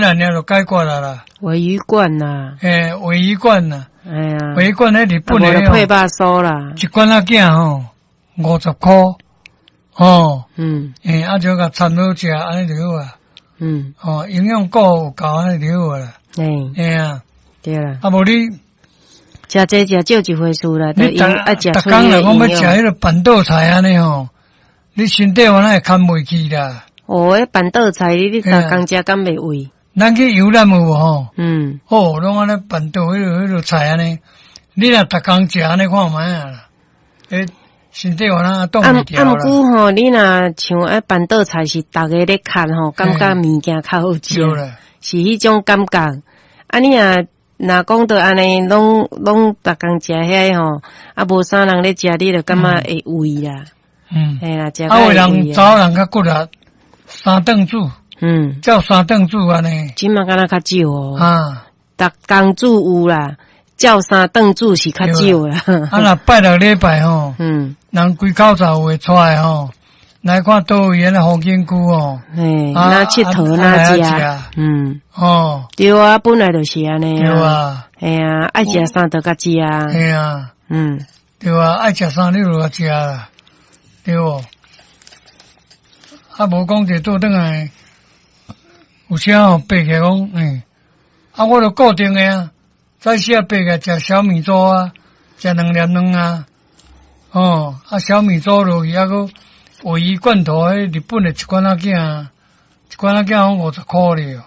爾就解決啦啦。鮪魚罐啦。嘿，鮪魚罐啦。哎呀。鮪魚罐彼日本的配肉酥啦。一罐仔囝吼，50箍。吼。嘿，啊，就共摻好食，按呢就好啊。吼，營養顧有夠，按呢就好啊啦。嘿啊。對啦。啊，無你。食濟食少一回事啦，你逐逐工若講欲食彼個辦桌菜按呢吼，你身體原來會堪袂去啦。哦，彼辦桌菜你逐工食敢袂胃？咱去遊覽有無吼？哦，攏按呢辦桌彼個菜按呢，你若逐工食按呢看覓啊啦？欸，身體原來擋袂牢啦。啊，毋過吼，你若像彼辦桌菜是逐个咧崁吼，感覺物件較好食，是彼種感覺。啊，你若若講著按呢，攏攏逐工食遐个吼，啊，無啥人咧食，你就感覺會胃啦。嘿啦，食啊，有人查某人較骨力，三頓煮。照三頓煮按呢。這馬敢若較少哦。啊。逐工煮有啦，照三頓煮是較少啦。啊，若拜六禮拜吼，人規口罩有會出來吼，來看佗位那風景區哦。嘿，哪𨑨迌哪食。哦。對啊，本來就是按呢。對啊。嘿啊，愛食啥就共食。嘿啊。對啊，愛食啥你就共食啦，對無？啊，無講者倒轉來，有時吼爬起來講，欸，啊，我著固定的啊，早時啊爬起來食小米粥啊，食兩粒卵啊，哦，啊小米粥落去，啊閣鮪魚罐頭，彼日本的一罐仔囝，一罐仔囝講50箍咧。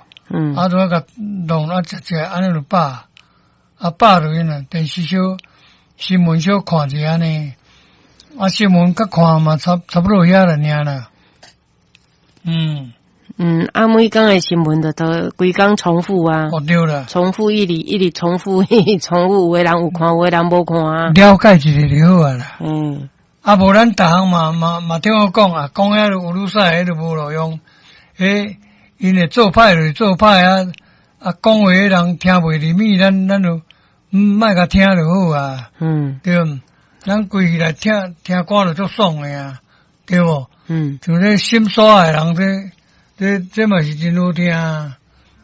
啊，就共弄啊食食，按呢就飽，啊飽落去呢，電視小新聞小看一下按呢，啊新聞較看嘛差不多遐爾啦。啊，每工的新聞就都規工重複啊。哦，對啦。重複一直一直重複，一直重複，有的人有看，有的人無看啊。了解一下就好啊啦。啊，無咱逐項嘛嘛嘛聽我講啊，講遐有女屎，彼就無路用。彼𪜶會做歹就是做歹啊，啊，講話的人聽袂入耳，咱就莫共聽就好啊。對毋？咱規氣來聽聽歌就足爽的啊，對無？像這心所的人，這嘛是真好聽啊。